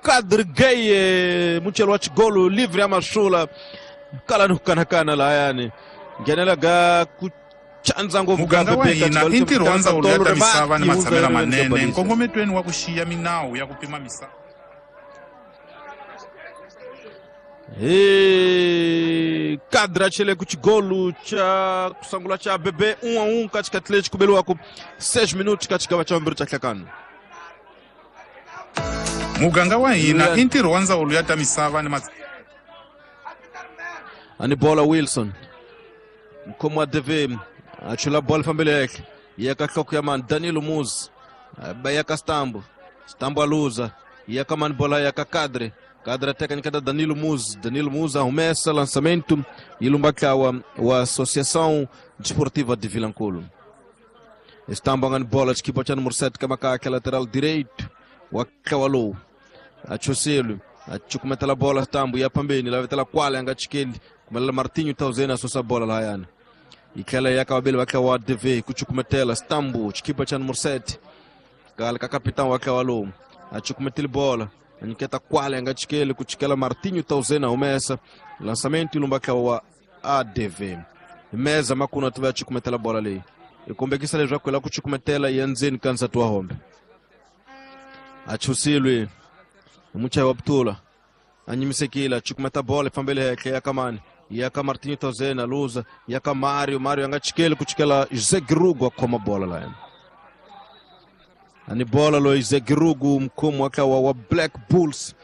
Kadri Gay muchelo wa xigolo livre ya masula kala ni ku kanakana lahayani nghenela ga ku chandza ngopfu Muganga wa hina i ntirho wa ndzawulo ya ta misava ni matshamelo manene nkongometweni wa ku xiya minawu ya ku pima misava. Hi kadra chele ku xigolo xa ku sungula xa bebe 1-1 ka xikhathi lexi ku beliwaku 6 minutos ka xigava xa vumbirhi xa hlakano. Muganga wa hina i ntirho wa ndzawulo ya ta misava ni Ani bola Wilson mukhomi wa DV a chula bola fambele henhla ya ka nhloko ya mani Danilo Muzi ba ya ka Stambo Stambo a luza ya ka mani bola ya ka Kadre Kadre teka nyiketa Danilo Muzi Danilo Muzi a humesa lançamento yi lumba ntlawa wa Associação Desportiva de Vilankulo. Stambo a nga ni bola xikipa xa numero 7 ka makakhe lateral direito wa ntlawa lowu a choselu a cukumetela bola Stambo ya phambeni lavetela kwala ya nga chikeli kumelela Martinho Tauzeni a susa bola lahayani yi tlhela ya ka vaveli va ntlawa wa DV ku cukumetela Stambo xikipa xa numero 7 kale ka kapitani wa ntlawa lowu a cukumetile bola a nyiketa kwala ya nga chikeli ku chikela Martinho Tauzeni a humesa lançamento yi lumba ntlawa wa ADV meza makuna tiva ya cukumetela bola leyi yi kombekisa leswaku yi lava ku cukumetela ya ndzeni ka nsati wa hombe a chusilwe hi muchayi wa butula a nyimisekile a cukumeta bola yi fambele henhla ya ka mani ya ka Martinho Tauzeni a luza ya ka Mario Mario a nga chikeli ku chikela Jose Girugu a khoma bola laya ani bola loyi Jose Girugu mukhomi wa ntlawa wa Black Bulls.